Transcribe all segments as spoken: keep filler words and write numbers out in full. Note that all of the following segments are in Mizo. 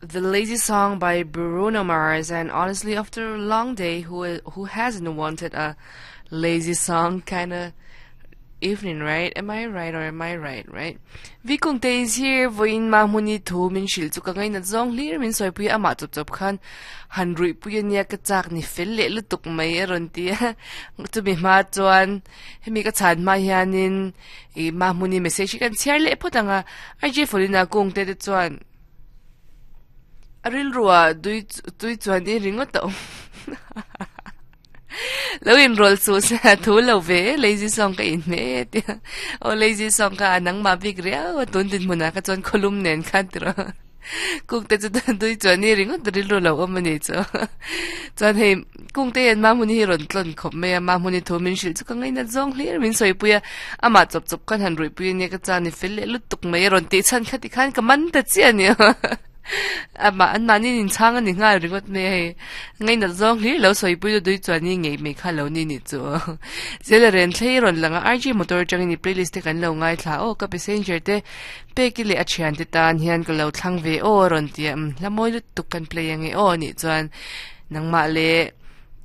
The Lazy Song by Bruno Mars, and honestly, after a long day, who who hasn't wanted a lazy song kind of evening, right? Am I right or am I right, right? Vikungte is here, voin ma muni thu min shil chu ka ngai na zong hlir min soi pui ama chop chop khan han rui pui ania ka chak ni fel le lutuk mai a rawn ti a chu mi hma chuan hemi ka chhan hma hianin i ma hmuni message hi kan chhiar leh phawt anga R J Folina kungte te chuan a rilruah tui tui chuan i ringawt a awm lo in roll chu se a thu lo ve lazy song ka in hme e tia aw lazy song kha a nangmah bik riau a tun dinhmunah kha chuan khawlum nen khan tiraw kungte chu tui chuan i ringawt rilru lo awm a ni chu chuan hei kungte hian mahmuni hi rawn tlawn khawp mai a mahmuni thu min hrilh chu ka ngainat zawng hlir min sawipui a amah chawp chawp khan han ruihpui ania ka chuan i fel leh lutuk mai a rawn tih chhan kha tikhan ka man ta chiah a ni Amah an mahni inchhang a ni nghal ringawt mai a hei. Ngainat zawng hlir lo sawipui du dui chuan i ngei mai kha lo ni ni chu. Zela ren thlei rawn lang a R G motor atangin i playlist te kan lo ngaithla aw ka passenger te pek i leh a thian te tan hian ka lo thlang ve aw a rawn ti a umm hla mawi lutuk kan play ange aw anih chuan nangmah leh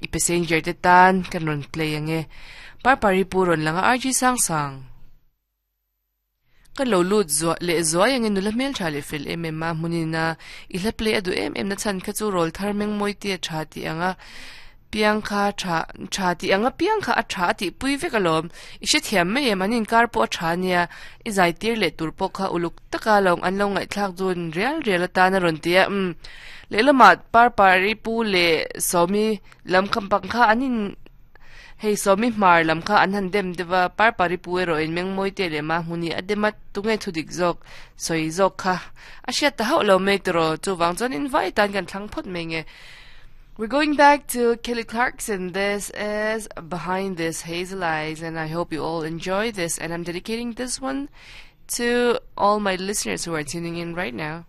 i passenger te tan kan rawn play ange. Parpari pu rawn lang a R G sang sang. Ka lo lut zuah leh zuai angin nula hmel tha leh fel em em a, hmunin a i hla play a duh em em na chhan kha chu rawl thar meng mawi te a tha tih ang a, piang kha tha tha tih ang a piang kha a tha a tih pui vek alawm, i hrethiam mai em an inkar pawh a tha ania, i zai tir leh tur pawh kha uluk taka lo an lo ngaihthlak dun rial rial atan a rawn ti a, umm lehlamah Parpari pu leh Sawmi lam kha pang kha an in. Hei Sawmi hmar lam kha an han dem deuh a, Parpari pu erawh in mengmawi te leh mahmuni a dem a, tunge thu dik zawk sawi zawk kha a hriat ta hauh lo mai tiraw, chuvang chuan in vai tan kan thlang phawt mai nge. We're going back to Kelly Clarkson, this is Behind This Hazel Eyes and I hope you all enjoy this and I'm dedicating this one to all my listeners who are tuning in right now.